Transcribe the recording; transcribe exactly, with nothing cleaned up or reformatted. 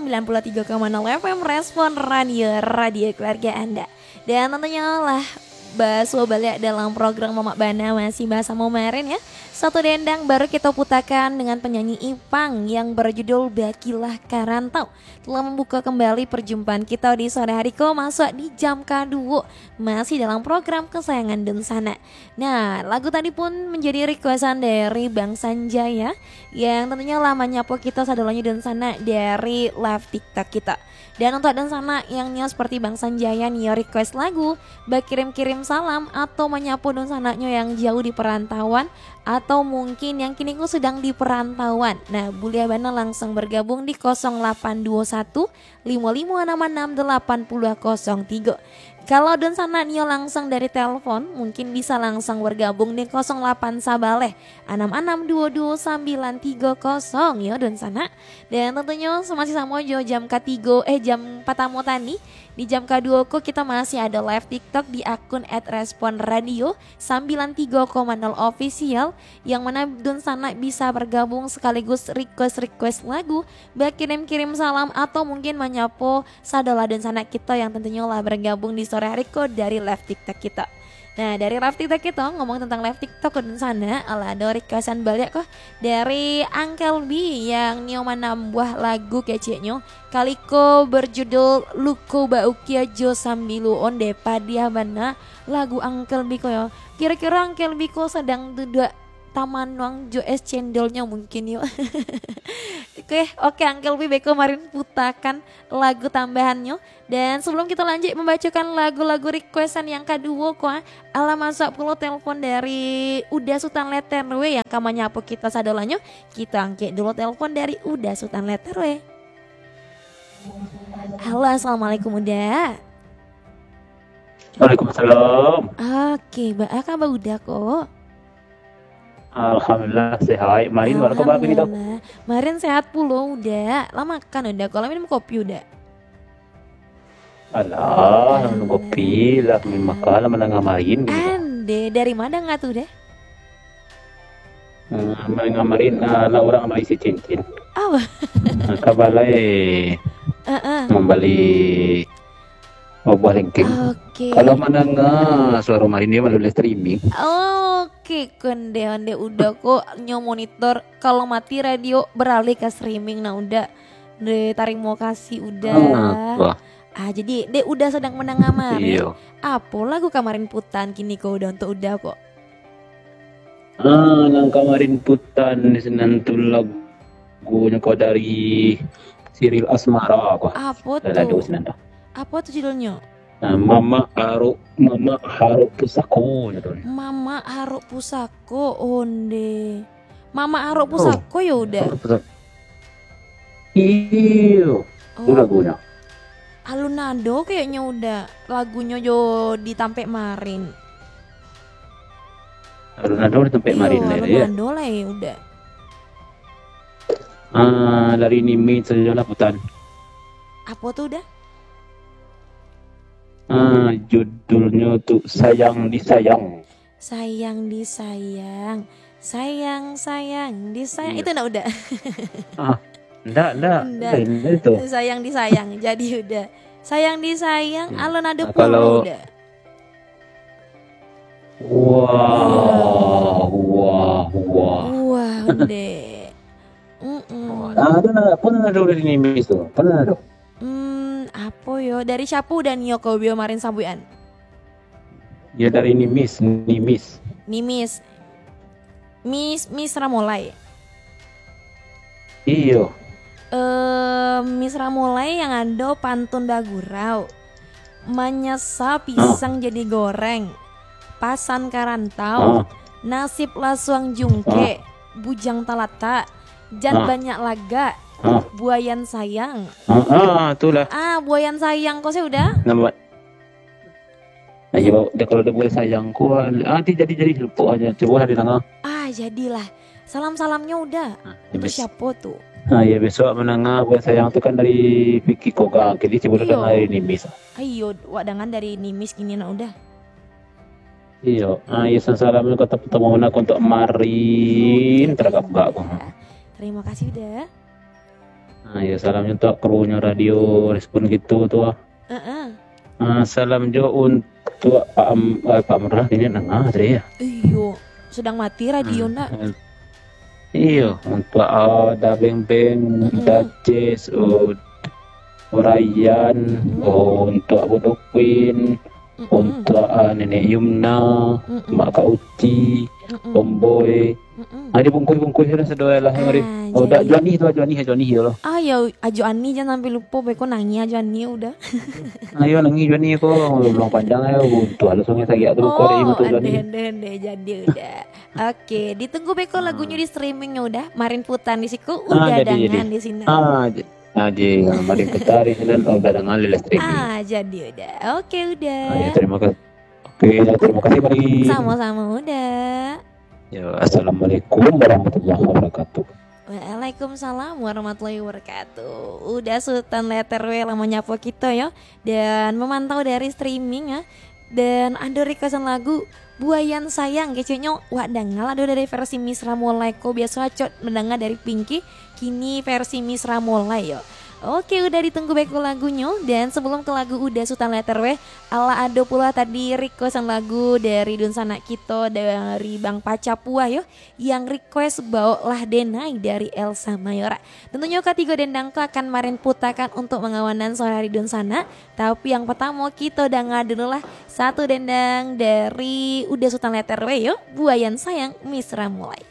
sembilan puluh tiga koma nol F M Respon Radio, radio keluarga Anda. Dan tentunya lah, basuo baliak dalam program Mamak Bana masih basamo Marin ya. Satu dendang baru kita putakan dengan penyanyi Ipang yang berjudul Bakilah Karantau. Telah membuka kembali perjumpaan kita di sore hari ko, masuk di jam kaduo, masih dalam program kesayangan dunsanak. Nah, lagu tadi pun menjadi requestan dari Bang Sanjaya, yang tentunya lah manyapo kita sadolonyo dunsanak dari live TikTok kita. Dan untuk dunsanak yang nio seperti Bang Sanjaya nio request lagu, bakirim-kirim salam atau manyapo dunsanaknyo yang jauh di perantauan, atau mungkin yang kini ko sedang di perantauan. Nah, buliah bana langsung bergabung di kosong lapan dua satu limo limo anam anam delapan puluh kosong tigo. Kalau dunsanak nio langsung dari telepon, mungkin bisa langsung bergabung di kosong lapan sabaleh anam anam dua dua sambilan tiga kosong yo dunsanak. Dan tentunyo masih samo jo jam katigo, eh, jam patamo tadi. Di jam kaduo ko kita masih ado live TikTok di akun at respon radio sambilan tigo koma nol official, yang mana dunsanak bisa bergabung sekaligus request-request lagu, bakirim-kirim salam, atau mungkin manyapo sadolah dunsanak kito yang tentunyo lah bergabung di sore hari ko dari live TikTok kito. Nah, dari live TikTok kito, ngomong tentang live TikTok ko dunsanak, alah ado requestan baliak ko dari Uncle B yang nio manambuah lagu keceknyo, kali ko berjudul Luko Baukia jo Sambilu. Onde, padiah bana lagu Uncle B ko yo. Kiro-kiro Uncle B ko sadang duduak tamanuang jo es cendolnyo mungkin yo. Oke, oke, Uncle B, beko Marin putakan lagu tambahannyo. Dan sebelum kita lanjut membacakan lagu-lagu requestan yang kaduo ko, ah, alah masuak pulo telepon dari Uda Sutan Letter W yang ka manyapo kita sadolanyo. Kita angkek dulu telepon dari Uda Sutan Letter W. Halo, assalamualaikum Uda. Waalaikumsalam. Oke, ba-, ah, kaba Uda ko? Alhamdulillah, sehat. Marin, wak kabar ni, Dok? Alhamdulillah. Marin sehat pulo, Uda. Lah makan, Uda? Kalau minum kopi, Uda? Alah, minum kopi lah, minum makan lah, mandanga Marin, gitu. Ande, dari ma danga tu, Uda? Hmm, mandanga Marin, ah, lah urang bali si cincin. Oh. Ah, ka balai. Heeh. Mambali buah lengkeng. Oke. Kalau mandanga suaro Marin, dia malu live streaming. Oke, konde, onde Uda ko nyo monitor, kalau mati radio, beralih ka streaming, nah, Uda. Deh, tarimo kasih, Uda. Ah, wah. Ah, jadi, dek Uda sadang mandanga Marin. Iyo. Apo lagu ka Marin putan kini ko, Uda, untuk Uda ko? Ah, nan ka Marin putan di sinan tu lagunyo ko dari Siril Asmara ko. Apo tu? Lah lagu sinan tu. Apo tu judulnyo? Ah, Mamak Arok, Mamak Arok Pusako, nyo tu. Mamak Arok Pusako, onde. Mamak Arok Pusako yo, Uda? Arok Pusako. Iyo, tu lagunyo. Alun ado kayaknyo, Uda, lagunyo jo di tampek Marin. Alun ado di tampek Marin lai, alun ado lai, Uda. Ah, dari Nimis sajo lah putan. Apo tu, Uda? Ah, judulnyo tu Sayang Disayang. Sayang disayang, sayang, sayang disayang. Iyo. Itu ndak, Uda? Ah, ndak, ndak. Ndak. Lain itu. Sayang disayang, jadi Uda. Sayang disayang, hmm, alun ado pulo, Uda. Wah, wah, wah. Wah, Uda. Mm-mm. Ah, tu nah, pernah ado di Nimis tu. Pernah ado. Hmm, apo yo? Dari siapo Uda nio ko bio marin sambuikan? Yo dari Nimis, Nimis. Nimis. Mis, Mis Ramolai. Iyo. Eh, Mis Ramolai yang ado pantun bagurau. Manyasa pisang jadi goreng. Pasan ka rantau. Ah. Nasib lasuang jungkek. Ah. Bujang talatak. Jan banyak lagak. Ah. Buayan sayang. Ah, ah, itulah. Ah, buayan sayang ko sudah? Nampak. Nah, iyo, dah kalau dah buayan sayang ko, ah, nanti jadi-jadi lupo aja. Cubo lah didanga. Ah, jadilah. Salam-salamnyo Uda. Ah, untuk siapo tu? Ah, iyo, besok mandanga buayan sayang tu kan dari Vicky Koga. Jadi cubo lah danga dari Nimis. Ayo, wak danga dari Nimis kini nak Uda. Iyo, ah, iyo, salam-salam ka tamu-tamu nak untuk marin, teragak gak. Terima kasih, Uda. Ah, ya, salamnyo untuak kru-nyo Radio Respon Kito tu, ah. Heeh. Ah, salam jo untuak Pak Am-, eh, Pak Murah, kini nangah tadi, ya. Iyo, sedang mati radio, ah, nak. Iyo, untuak, ah, Da Beng Beng, mm-mm, Da Ces, oh, Ryan, mm-mm, oh, untuak Bodo Queen, mm-mm, untuak, ah, Nenek Yumna, mm-mm, Mak Kak Uci, mm-mm, Om Boy. Mm-mm. Ah, dibungkuih-bungkuih lah sado lah, mari. Ah, oh, dak jadi. Johnny tu, Johnny, Johnny tu lah. Ah, ya, Ajo Ani jan sampai lupo, beko nangih Ajo Ani udah. Ayo nangih Johnny ko, belum panjang ya, tu halus sungai sagiak tu, ko dari Oh, mata Johnny. Andeh, andeh, andeh, jadi udah. Oke, ditunggu beko lagunyo di streamingnya udah. Marin putan di siku, ah, udah jadi, dangan jadi di sini. Ah, j-, ah, ji, marin putan di sini, udah dangan di streaming. Ah, jadi udah. Oke, udah. Ah, ya, terima kasih. Oke, ya, terima kasih, Mari. Sama-sama, udah. Ya, assalamualaikum warahmatullahi wabarakatuh. Waalaikumsalam warahmatullahi wabarakatuh. Udah Sultan Letter W lah manyapo kito yo, dan memantau dari streaming ya. Dan ado requestan lagu Buayan Sayang, keceknyo wak danga lah dari versi Miss Ramolai ko, biaso acok mandanga dari Pinky, kini versi Miss Ramolai yo. Oke, udah ditunggu beko lagunyo, dan sebelum ke lagu udah Sultan Letter W, alah ado pula tadi requestan lagu dari dunsanak kito, dari Bang Paca Puah yo, yang request Baoklah Denai dari Elsa Mayora. Tentunyo katigo dendang ko akan marin putakan untuk mangawanan sore hari dunsanak, tapi yang pertamo kito danga dulu lah satu dendang dari udah Sultan Letter W yo, Buayan Sayang, Miss Ramolai.